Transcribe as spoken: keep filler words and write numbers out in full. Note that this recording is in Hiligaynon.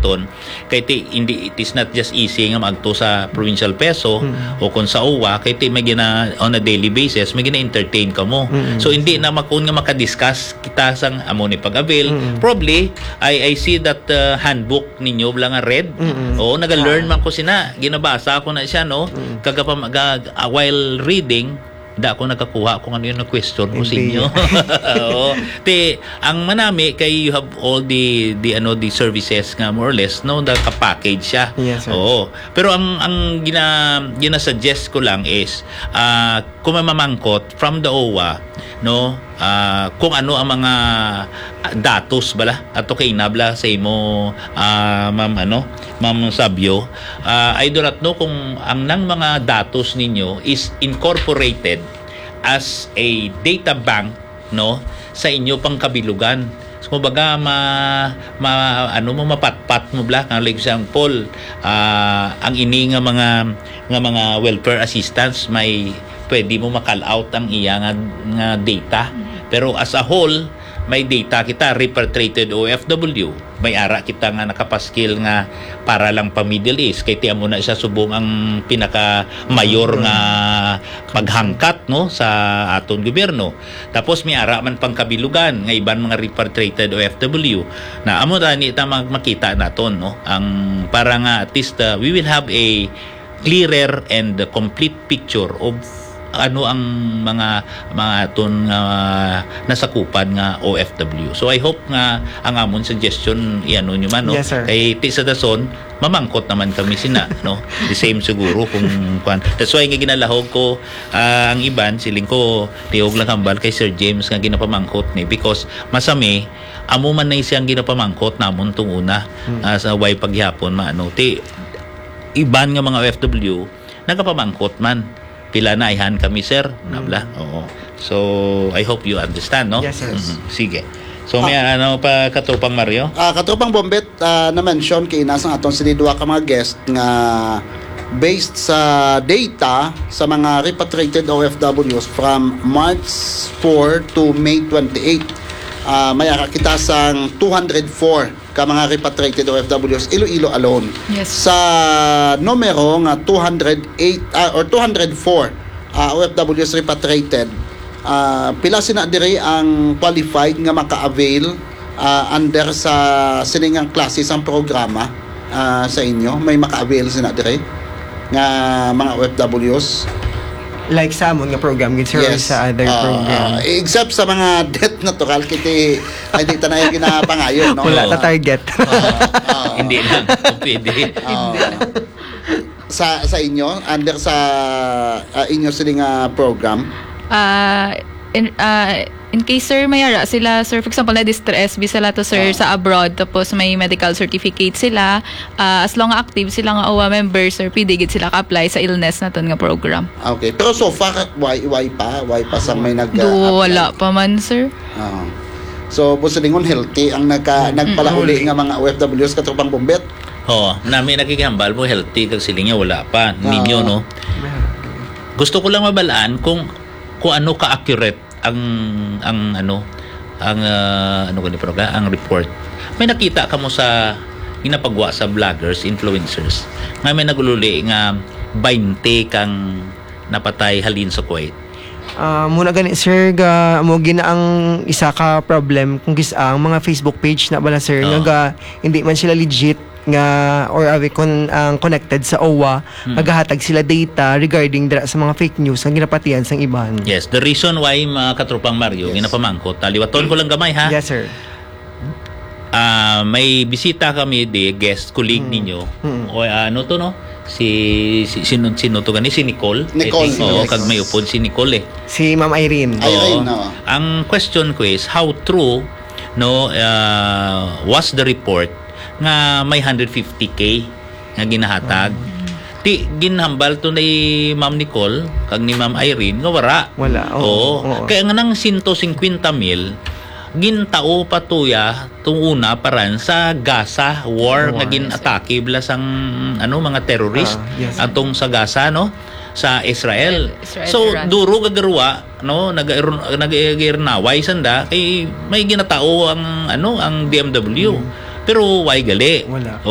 Ton. Kay ti, hindi, it is not just easy nga maagto sa provincial peso Mm. o kung sa O W A, kay ti may gina, on a daily basis, may gina-entertain ka mo. Mm. So, hindi na makun nga makadiscuss kita sang amo ni pag-avail. Mm. Probably, I, I see that, uh, handbook ninyo, wala nga red. Mm. Oo, naga-learn Ah. man ko sina. Ginabasa ko na siya, no? Mm. Kagapa-, ga-, ah, while reading, da ako nakakuha kung ano yung question ko sa Hindi. inyo. Oo. Ti, ang manami kay you have all the, the, ano, the services nga more or less, no, naka-package siya. Yes, sir. Oo. Pero ang, ang gina-, gina-suggest ko lang is, ah, kung may mamangkot from the O W A, no, ah, kung ano ang mga, ah, datos bala ato kay inabla sa imo, ah, ma'am, ano, ma'am Sabio, ah, I do not know kung ang nang mga datos ninyo is incorporated as a data bank, no, sa inyo pang kabilugan. So, kumbaga, ma-, ma-, ano mo, mapatpat mo bala. Nga, like example, ah, ang ini nga mga, nga mga welfare assistance, may pwede mo ma-call out ang iya nga, nga data. Pero as a whole, may data kita, repatriated O F W. May ara kita nga nakapaskil nga para lang pa Middle East. Kay ti amo na siya subong ang pinaka mayor nga paghangkat, no, sa aton gobyerno. Tapos may ara man pang kabilugan nga iban mga repatriated O F W. Na amo tani ta mag-, makita naton, no, ang para nga at least, uh, we will have a clearer and complete picture of ano ang mga, mga aton nga nasakupan nga O F W. So, I hope nga ang amon suggestion, iano nyo man, no? Yes, sir. Kay ti sa dason, mamangkot naman kami sina, no? The same siguro kung kuan. That's why nga ginalahog ko, ah, ang iban, siling ko, tiog lang hambal kay Sir James nga ginapamangkot ni. Because masami, amo man na siyang ginapamangkot namon tong una, Hmm. ah, sa way paghihapon, maano. Ti, iban nga mga O F W, nagapamangkot man. Pila na ayhan kami, sir? Nabla? Mm. Oo. So, I hope you understand, no? Yes, sir. Mm, sige. So, may Ah. ano pa, Katropang Mario? Ah, Katropang Bombet, ah, na-mention kay ina sang aton sini duha ka mga guest nga based sa data sa mga repatriated O F Ws from March four to May twenty-eight, ah, may ara kita sang two hundred four ka mga repatriated O F Ws, Iloilo alone. Yes. Sa numero nga two hundred eight, ah, or two hundred four, ah, O F Ws repatriated, ah, pila sina diri ang qualified nga maka-avail, ah, under sa sining nga klase sang programa, ah, sa inyo? May maka-avail sina diri nga mga O F Ws? Like sa amon nga program, gid, sir, or Yes. sa other Ah, program? ah, except sa mga death natural, kiti, ay, di ta na yung ginapangayo, no? Wala Oo. ta target. Ah, ah. Hindi lang. Kung pwede. Ah. Sa, sa inyo, under sa, ah, inyo sini nga program? Ah, in, ah, in case, sir, may ara sila, sir, for example, na-distress, visa sila to, sir, Ah. sa abroad, tapos may medical certificate sila, ah, as long active sila nga O W A member, sir, pwede gid sila ka-apply sa illness naton nga program. Okay. Pero so far, why, why pa? Why pa sa may nag- Do, apply? Wala pa man, sir. Ah. So, po silingon, healthy ang nagka-, Mm. nagpalauli Mm. nga mga O F Ws, Katropang Bombet? Oo, nami nakikihambal mo, healthy kag siling niya, wala pa. Ah. Ninyo, no? Gusto ko lang mabalaan kung, kung ano ka-accurate ang, ang ano, ang, ah, ano gani, program, ang report. May nakita ka mo sa ginapagwa sa vloggers, influencers, nga may nagululi nga bainte kang napatay halin sa Kuwait? Ah, muna gani, sir, ga, mo gina ang isa ka problem kung kis-, ang mga Facebook page na bala, sir, nga Oo. ga, hindi man sila legit nga, or awi kon ang connected sa O W A, Hmm. magahatag sila data regarding dira sa mga fake news nga ginapatihan sang iban. Yes, the reason why, mga Katropang Mario, Yes. ginapamangkot, taliwaton ko lang gamay, ha? Yes, sir. Ah, may bisita kami di, guest, colleague Hmm. ninyo. Hmm. O, ano to, no? Si, si, sino, sino to gani? Si Nicole, I Nicole, think. Oo, yes. Kag may upod si Nicole, eh. Si Ma'am Irene. Irene, Oo. no? Ang question ko is, how true, no, ah, was the report nga may hundred fifty K nga ginahatag? Mm. Ti, ginhambal to ni Ma'am Nicole kag ni Ma'am Irene nga wara. Wala, oo, Oo. oo. Kaya nga nang sento singkwenta mil, gintao pa tuya tong una paran sa Gaza war War, nga yes, sir. Gin-atake bala sang, ano, mga terrorist Ah, yes, sir. atong sa Gaza, no? Sa Israel. Israel, So, Iran. duro gagarwa, no? Nag-, nag-, nag-, sanda, kay may ginatao ang, ano, ang D M W. Mm. Pero why gali? Wala.